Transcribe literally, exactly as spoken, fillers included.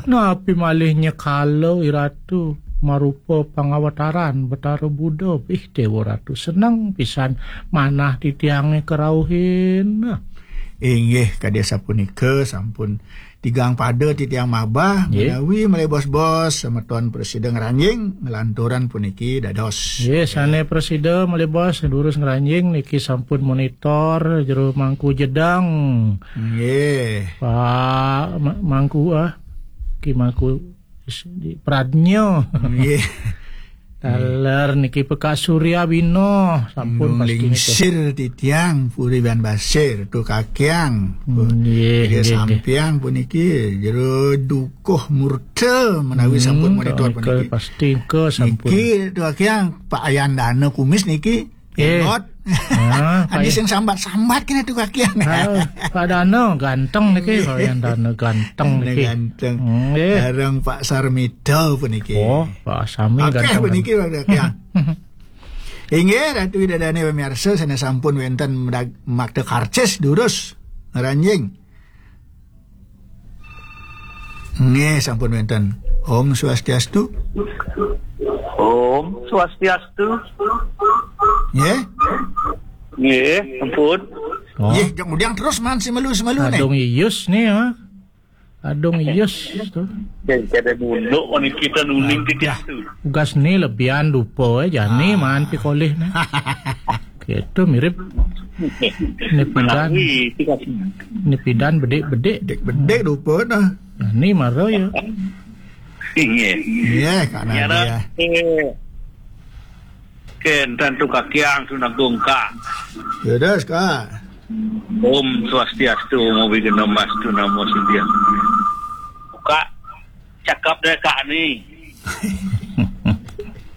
Napi malih nyekala I Ratu marupa pangawataran Betara Buda. Ih, Déwa Ratu, seneng pisan manah titiangé karauhin. Inggih, kadi sapunika sampun tigang pada titiang mabah. Nggih. Menawi malih bos-bos semeton prasida ngranjing nglanturang puniki dados. Nggih, sané prasida malih bos durus ngranjing niki sampun monitor jero Mangku Jedang. Nggih. Pak Ma-, Mangku, ah, Ki Mangku Pradnya. Nggih. Taler niki Pekak Surya Bino, sampun pasti nika. Lingsir titiang Puri Ban Basir, Tu Kakiang. Nggih, nggih, nggih. Sampiang puniki jero dukuh murda menawi sampun monitor puniki. Pasti nika sampun. Niki Tu Kakiang, Pak Ayandana Kumis niki. Eh. Elot. Ah, Pak Adi Yan-, sing sambat-sambat kene Tu Kakiang. Ah, Pak Dana ganteng niki, Pak Ayandana ganteng niki. Ganteng. Nggih. Bareng Pak Sarmita puniki. Oh, Pak Sami ganteng. Akeh puniki, Pak Kakiang. Inggih, Ratu Ida Dane pamirsa, sané sampun wénten medag-, makta karcis durus ngranjing. Nggih, sampun wénten. Om Swastiastu. Om Swastiastu. Nggih. Nggih, ampun. Oh. Nggih, kemudian terus man semelu-semelu nih. Kadung Iyus nih, ya. Kadung Iyus tuh. Dan kada nunduk, oh, niki kita nuning. Adah. Titiang tu. Ugas nih lebihan dupa, eh, jani man pikolih nih. Gitu, mirip nipidan. Menawi, itu kan. Nipidan bedik-bedik. Bedik-bedik dupa dah. Jani mara ya. Inggih. Iya, Kak Nyara, Nadia. Eh, Ken, tantu kakiang, tunagong ka. Ya, das, Kak. Om Swastiastu, Omo Bigeno Mastu Namo Sidhiya. Buka cakap deh, Kak, nih.